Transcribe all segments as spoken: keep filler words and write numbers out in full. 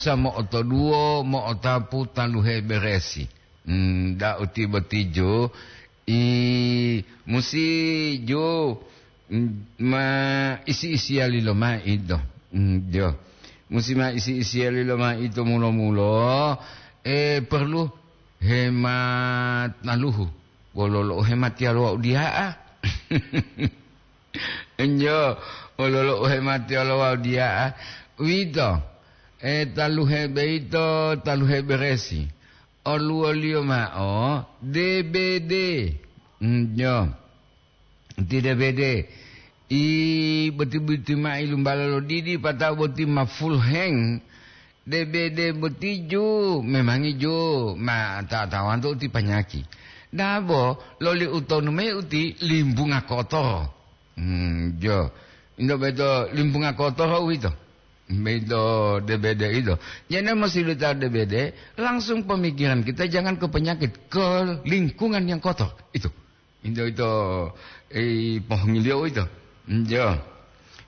sa mo'otoduwo, mo'otapu taluhe beresi. Hmm, da'u ti boti ju, i, musi ju, mm, ma isi-isiyali lomayi do. Mm, jo. Musi ma isi-isiyali lomayi to mulo-mulo, eh, perlu hemat taluhu. Wolo lo hemat yalo wau diya'a. Enjo, wolo lo hemat yalo wau diya'a. Uwito, eh, taluhe beito, taluhe beresi. Oluwoliyo ma'o D B D. Enjo. Ti D B D, i boti-boti ma ilumbala lo didi, pata'o boti ma full hang. D B D boti ju, memangi ju, ma ta-, tawanto uti panyaki. Dabo, loli utonu mayi uti limbunga kotoro. Hmm, jo. Indo beto limbunga kotoro uwito. Beto D B D itu. Jadi, mesti tahu D B D, langsung pemikiran kita jangan ke penyakit, ke lingkungan yang kotor. Itu. Indo ito, eh, pohongiliyo ito. Njo.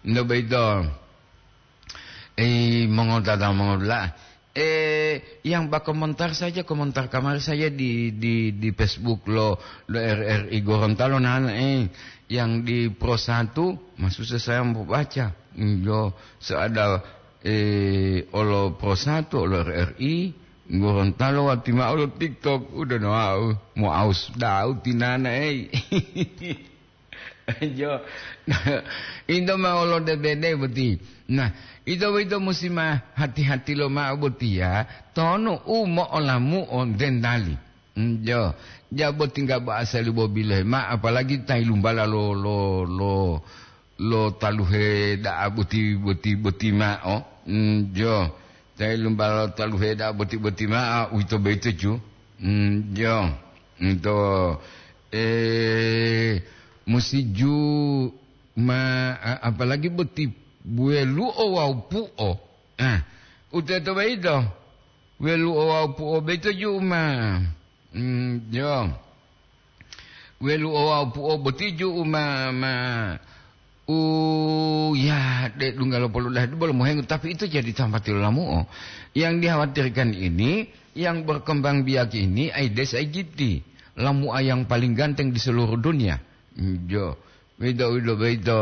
Indo boyito, eh, mongotata mongodula'a. Eh, yang bakomentar saja, komentar kamari saja di, di, di Facebook lo, lo R R I Gorontalo, nah, eh, yang di Pro Satu, masusa saya mau baca. Njo, seada, eh, olo Pro Satu, olo R R I, Gorontalo wati ma'o lo TikTok, udah no au, mo aus dau tinana, ei. Jo, ito ma'o lo D B D boti. Nah, ito boyito musi ma hati-hati lo ma'o botiya, tonu u mo'olamu'o dendali. Jo, ja boti nggak bo asali bo bilohe ma, apalagi ta ilumbala lo, lo, lo, lo taluhe da'a boti, boti, boti ma'o. Mm, jo. Ta ilumbala lo taluhe da'a boti-boti ma'o, uwito boyito ju. Mm, jo. Ito, eh, musi ju ma, a-, apalagi boti welu'o wawu pu'o. Ah, uteto boyito. Welu'o wawu pu'o boyito ju ma. Mm, jo. Welu'o wawu pu'o boti ju ma, ma, u, ya, de dungga lo polodaha bolo mohengu, tapi itu jadi tambati lo lamu'o. Yang dikhawatirkan ini, yang berkembang biak ini Aedes aegypti, lamu'a yang paling ganteng di seluruh dunia. Mm, jo. Wito, wito, wito.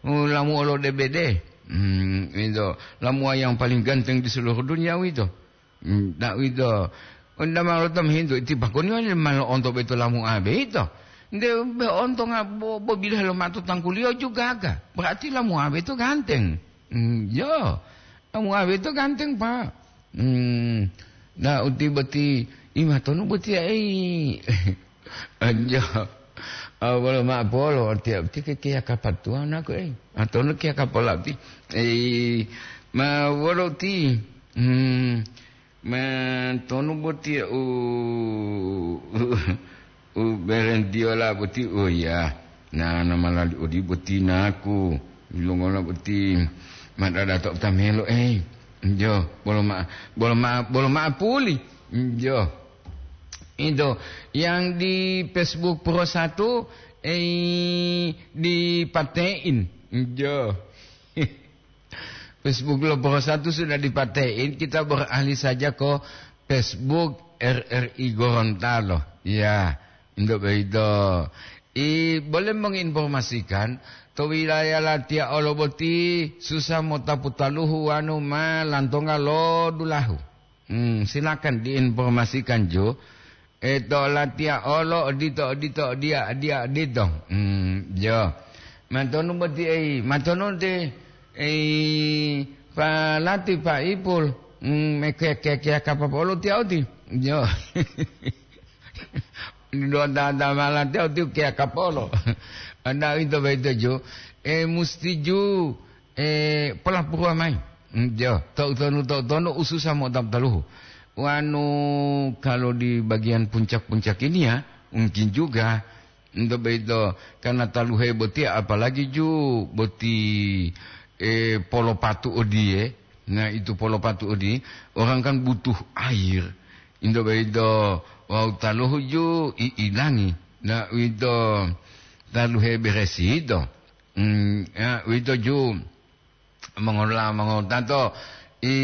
U, lamu'o lo D B D. Hmm, wito. Lamu'a yang paling ganteng di seluruh dunia wito. Hmm, ta wito. Onda ma lo ta mohintu, ti pakoni wali ma lo'onto boyito lamu'a boyito. Nde be onto nga bo-, bo bilohe lo ma'o to tangkuliyo ju gaga. Berarti lamu'a boyito ganteng. Hmm, jo. Lamu'a boyito ganteng, Pak. Hmm, na uti boti, i matonu boti ya, ei. Anjo. Ah, bolo ma'o polo, tiya uti ke kiya kapatuwa naku, ei. Matonu kiya kapola uti. Ei, ma wolo uti. Hmm, matonu boti ya u, u berentiyola boti, oh ya. Na, na malali odi boti naku. Ilongola boti madada to tamelo, ei. Jo, bolo ma, bolo ma, bolo ma puli. Jo. Itu yang di Facebook Pro Satu, eh, dipate'in. Jo. Facebook lo Pro Satu sudah dipate'in, kita beralih saja ke Facebook R R I Gorontalo. Ya, untuk begitu. I, boleh menginformasikan, to wilayah latiya olo boti susa motapu taluhu wanu ma lantonga lo dulahu. Hmm, silakan diinformasikan ju. E, to latiya olo odito, odito, diya, diya, odito. Hmm, jo. Matonu boti, ei, matonu te, ei, Pak Lati, Pak Ipul. Hmm, me ke, ke, ke, kapapa olo tiya oti. Jo. Dua ta, ta malate uti ke kapolo. Anda ito baito ju, eh, musti ju, eh, polapuruwa mayi. Mm, jo, to tonu, to tonu ususa mo tam taluhu. Wanu, kalau di bagian puncak-puncak ini ya, mungkin juga. Ento baito, karena taluhe boti, apalagi ju boti, eh, polopatu odie. Nah, itu polopatu odi, orang kan butuh air. Indo boyito wawu taluhu ju i ilangi, na uwito taluhe beresi yito. Hmm, ya, uwito ju mongolola mongowutato, i,